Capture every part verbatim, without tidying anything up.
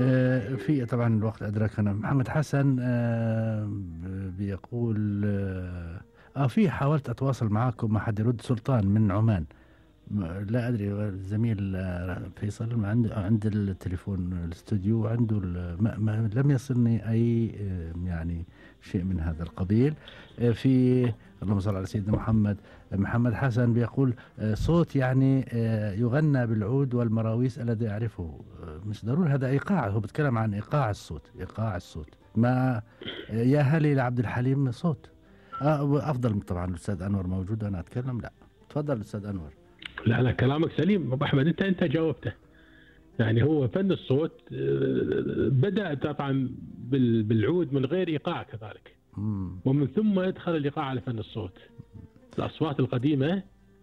آه، في طبعا الوقت أدركنا. محمد حسن آه، بيقول آه آه، في حاولت أتواصل معكم ما حد يرد. سلطان من عمان. م- لا أدري، الزميل آه، فيصل ما عنده عند التليفون الاستوديو عنده ال- ما ما لم يصلني أي آه، يعني شيء من هذا القبيل. آه، في اللهم صل على سيدنا محمد. محمد حسن بيقول آه، صوت يعني آه، يغنى بالعود والمراويس الذي أعرفه. آه، مش ضروري هذا إيقاع، هو بيتكلم عن إيقاع الصوت، إيقاع الصوت. ما آه، يا هلي لعبد الحليم صوت. آه، أفضل طبعا الأستاذ أنور موجود وأنا أتكلم. لا تفضل أستاذ أنور. لا لا، كلامك سليم ابو احمد، انت انت جاوبته. يعني هو فن الصوت آه، بدأ طبعا بال- بالعود من غير ايقاع كذلك، مم. ومن ثم ادخل الايقاع على فن الصوت. الاصوات القديمه،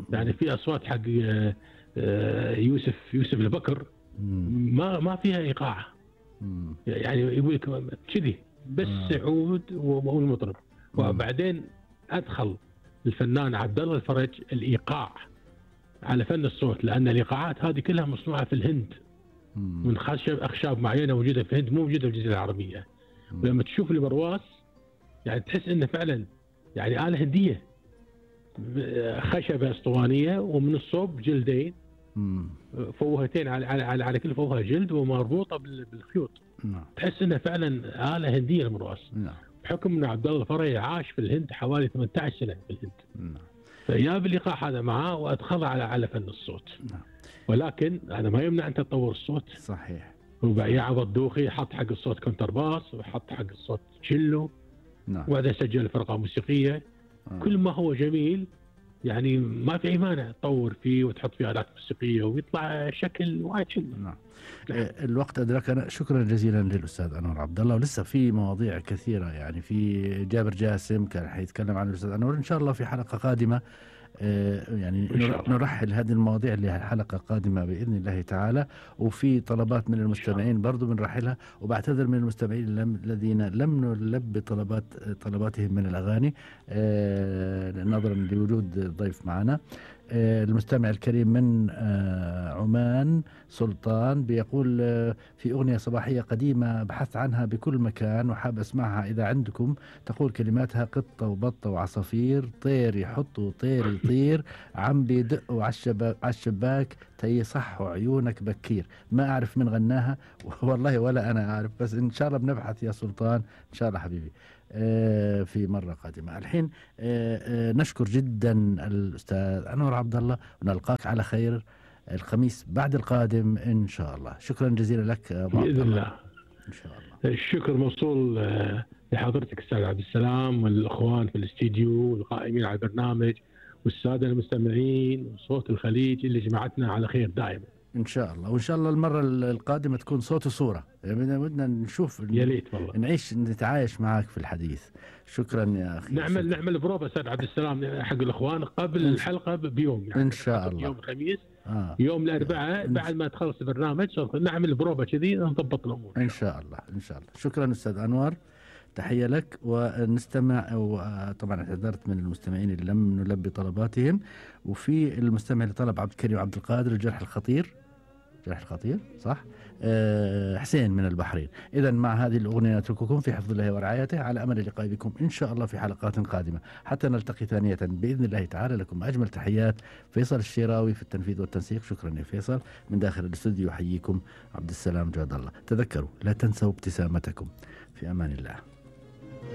يعني في اصوات حق آه، آه، يوسف يوسف البكر مم. ما ما فيها ايقاع. مم. يعني يقول لك كذي بس آه. عود والمطرب. مم. وبعدين ادخل الفنان عبد الله الفرج الايقاع على فن الصوت، لان الايقاعات هذه كلها مصنوعه في الهند مم. من خشب اخشاب معينه موجوده في الهند، مو موجوده في الجزيره العربيه. مم. ولما تشوف البرواس يعني تحس انه فعلا يعني اله هنديه، خشبه اسطوانيه ومن الصوب جلدين، مم. فوهتين على على على, على كل فوهه جلد ومربوطه بال- بالخيوط. نعم. تحس انها فعلا اله هنديه المرواس، نعم. بحكم ان عبد الله الفرج عاش في الهند حوالي ثمانية عشر سنه في الهند. نعم. فجاب الايقاع هذا معاه وادخله على على فن الصوت. نعم. ولكن هذا ما يمنع انت تطور الصوت. صحيح. ويعوض دوخي حط حق الصوت كونترباس وحط حق الصوت تشيلو، نعم. وبعدين سجل فرقه موسيقيه. آه. كل ما هو جميل يعني ما في اي مانع تطور فيه وتحط فيه الات موسيقيه ويطلع شكل وايد حلو. نعم. آه، الوقت أدركنا. شكرا جزيلا للأستاذ أنور عبد الله، ولسه في مواضيع كثيرة. يعني في جابر جاسم كان حيتكلم عن الأستاذ أنور إن شاء الله في حلقة قادمة. آه، يعني إن شاء الله. نرحل هذه المواضيع لحلقة قادمة بإذن الله تعالى. وفي طلبات من المستمعين برضو بنرحلها، وبعتذر من المستمعين لم- الذين لم نلبي طلبات طلباتهم من الأغاني آه، نظرا لوجود ضيف معنا. آه، المستمع الكريم من آه، عمان سلطان بيقول آه، في أغنية صباحية قديمة بحثت عنها بكل مكان وحاب أسمعها إذا عندكم. تقول كلماتها: قطة وبطة وعصافير، طير يحط وطير يطير، عم بيدقوا على الشباك تيصحوا عيونك بكير. ما أعرف من غناها والله ولا أنا أعرف، بس إن شاء الله بنبحث يا سلطان إن شاء الله حبيبي آه، في مرة قادمة. الحين آه، آه، نشكر جدا الأستاذ أنور عبد الله، ونلقاك على خير الخميس بعد القادم إن شاء الله. شكرا جزيلا لك أبو عبد باذن الله. الله. إن شاء الله. الشكر موصول آه، لحضرتك استاذ عبد السلام والاخوان في الاستديو والقائمين على البرنامج والساده المستمعين وصوت الخليج اللي جمعتنا على خير دائما. إن شاء الله. وإن شاء الله المرة القادمة تكون صوت وصورة، يعني بدنا نشوف يا ريت والله نعيش نتعايش معك في الحديث. شكرا يا أخي. نعمل شكرا. نعمل بروفا استاذ عبد السلام حق الاخوان قبل الحلقه بيوم، يعني إن شاء الله. يوم الخميس آه. يوم الاربعاء بعد ما تخلص البرنامج نعمل بروفا كذي نضبط الامور إن شاء الله. إن شاء الله. شكرا أستاذ أنور، تحية لك. ونستمع، وطبعا اعتذرت من المستمعين اللي لم نلبي طلباتهم. وفي المستمع اللي طلب عبد الكريم عبد القادر الجرح الخطير، جرح الخطير صح؟ أه حسين من البحرين. إذا مع هذه الأغنية نترككم في حفظ الله ورعايته، على أمل اللقاء بكم إن شاء الله في حلقات قادمة حتى نلتقي ثانية بإذن الله تعالى. لكم أجمل تحيات، فيصل الشيراوي في التنفيذ والتنسيق. شكرا يا فيصل. من داخل الاستوديو يحييكم عبد السلام جاد الله. تذكروا لا تنسوا ابتسامتكم. في أمان الله.